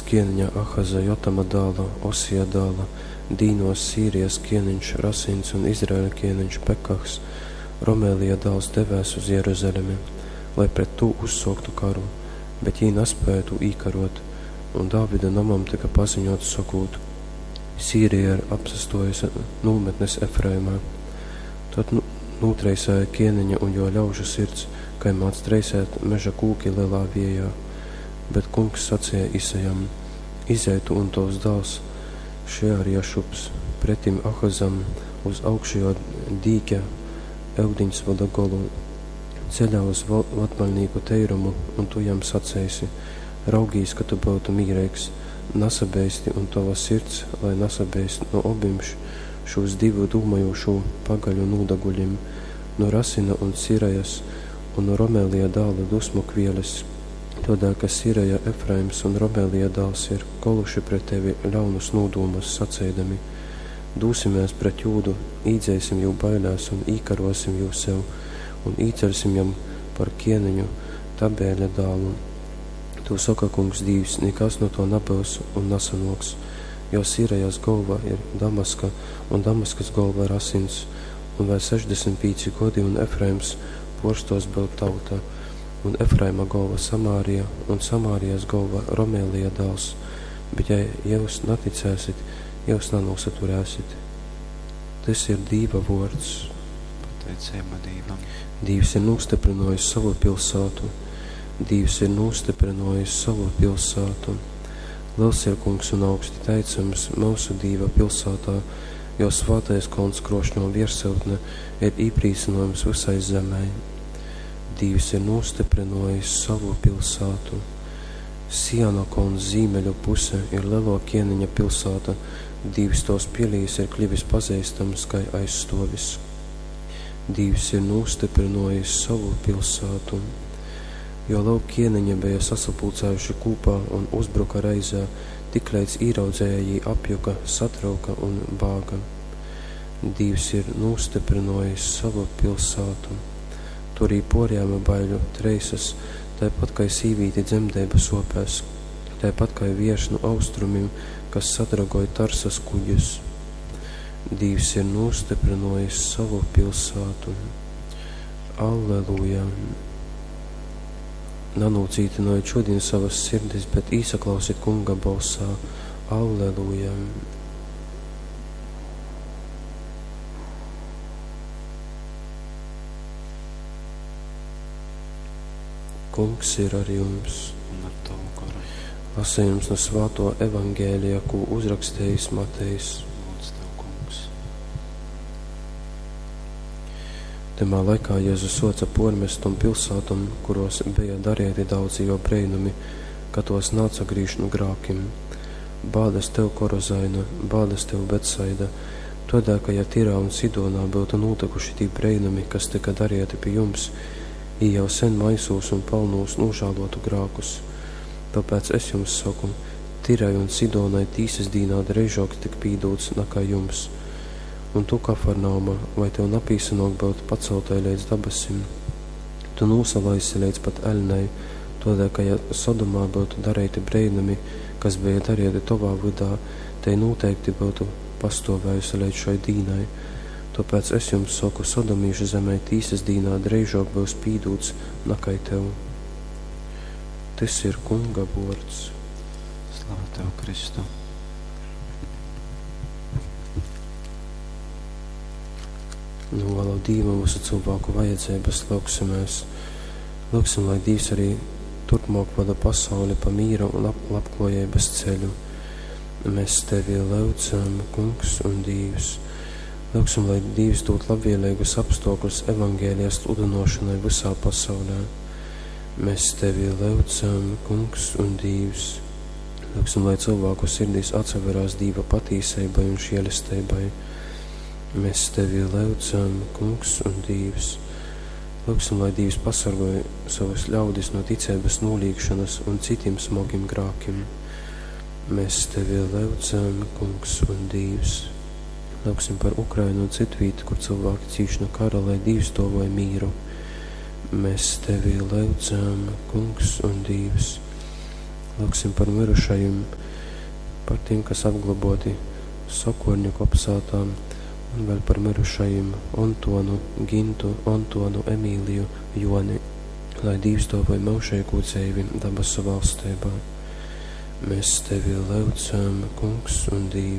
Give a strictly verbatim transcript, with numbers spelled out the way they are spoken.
Kieneņa Ahaza, Jotama dāla, Osija dāla, dīnōs Sīrijas kieneņš Rasins un Izraeļa kieneņš Pekahs, Romelija dāls, devēs uz Jeruzalemi, lai pret tū uzsōktu karu, bet jī naspēja tū īkarōt. Un Dāvida nomam tyka paziņōts, sokūt: Sīrija ir apsastōjuse nūmetnes Efraimā. Tod nūtreisēja kieneņa un jō ļaužu sirds, kai mādz treisēt meža kūki lelā viejā. Bet Kungs saceja Isajam: Izej tu un tovs dāls Šearjašubs pretim Ahazam uz augšejō dīķa yudiņsvoda golu, ceļā uz vatmaļnīku teirumu, un tu jam saceisi: Raugīs, ka tu byutu mīreigs, nasabeisti un tova sirds lai nasabeist nu obim šūs divu dūmojūšū pagaļu nūdaguļim, nu Rasina un Sirejas un nu Romelija dāla dusmu kvieles, tōdēļ ka Sireja, Efraims un Romelija dāls ir koluši pret tevi ļaunus nūdūmus, saceidami: Dūsimēs pret Jūdu, īdzeisim jū bailēs un īkarōsim jū sev un īceļsim jam par kieneņu Tabeļa dālu. Tū soka Kungs Dīvs, nikas nu tō nabyus un nasanōks, jo Sirejas golva ir Damaska un Damaskas golva Rasins, un vēļ sešdesmit pīci godi, un Efraims pōrstōs byut tauta, un Efraima golva Samārija, un Samārijas golva Romelija dāls, bet ja jyus naticēsit, jyus nanūsaturēsit. Tys ir Dīva vōrds. Pateiceiba Dīvam. Dīvs ir nūstyprynōjis sovu pilsātu. Dīvs ir nūstyprynōjis sovu pilsātu. Liels ir Kungs un augsti teicams myusu Dīva pilsātā, jo svātais kolns krošņo viersyutne ir īprīcynojums visai zemei. Dīvs ir nūstyprynōjis sovu pilsātu. Siona kolns zīmeļu puse ir lelo kieneņa pilsāta, Dīvs tos pilīs ir kļuvis pazeistams kai aizstōvis. Dīvs ir nūstyprynōjis sovu pilsātu. Jo lūk, kieneņi beja sasapulcējuši kūpā un uzbruka reizē, tikleidz īraudzēja jī apjuka, satrauka un bāga. Dīvs ir nūstyprynōjis sovu pilsātu. Tur jī pōrjēma baiļu treisas, taipat kai sīvīti dzemdeibu sōpēs, taipat kai viejš nu austrumim, kas sadragoj Tarsas kuģus. Dīvs ir nūstyprynōjis sovu pilsātu. Alleluja! Nanūcītynojit šodien savas sirdis, bet īsaklausit Kunga bolsā. Alleluja! Kungs ir ar jums. Un ar tavu goru. Lasījums no Svāto Evangēlija, ko uzrakstījis Matejs. Lūdz tev, Kungs. Tymā laikā Jēzus soca pormest tom pilsātom, kuros beja darieti daudzi jo breinumi, ka tos naatsagrīž nu grākim. Bādas tev, Korozaina, bādas tev, Betsaida, todēļ, ka ja Tirā un Sidonā būtu notikuši tī breinumi, kas tika darieti pi jums, jī jau sen maisūs un palnūs nožēlotu grākus. Tāpēc es jums saku, Tirai un Sidonai tīsas dīnā dreižāk tik pīdūts nekā jums. Un tu, Kafarnauma, vai tev napīsanok būt paceltai līdz dabasim? Tu nūsalaisi līdz pat eļnei, todēļ, ka ja Sodomā būtu darīti breinumi, kas bija darīti tavā vydā, te noteikti būtu pastovējusi līdz šai dīnai. Tāpēc es jums saku, Sodomīšu zemē tīsas dīnā dreižāk būs pīdūts nakai tev. Tys ir Kunga vōrds. Slava tev, Kristu! Novēlu Dīvam visu cilvēku vajadzības, lūgsimies. Lūgsim, lai Dievs arī turpmāk vada pasauli pa mīra un lab labklājības ceļu. Mēs tevi lūdzam, Kungs un Dievs. Lūgsim, lai Dievs dod labvēlīgus apstākļus evangēlijas sludināšanai visā pasaulē. Mēs tevi lūdzam, Kungs un Dievs. Lūgsim, lai cilvēku sirdīs atsaverās Dieva patīsībai un žēlastībai. Mēs tevi lūdzam, Kungs un Dievs. Lūgsim, lai Dievs pasargāj savus ļaudis no ticības nolīgšanas un citiem smagiem grākiem. Mēs tevi lūdzam, Kungs un Dievs. Lūgsim par Ukrainu un citu vietu, kur cilvēki cīš no kara, lai Dievs dāvāj mīru. Mēs tevi lūdzam, Kungs un Dievs. Lūgsim par mirušajim, par tiem, kas apgloboti Sokorņu kopsātā, un vēl par mirušajim Ontonu, Gintu, Ontonu, Emīliju, Joni, lai Dīvs dōvoj myužeigū dzeivi dabasu valsteibā. Mēs tevi lyudzam, Kungs un Dīvs.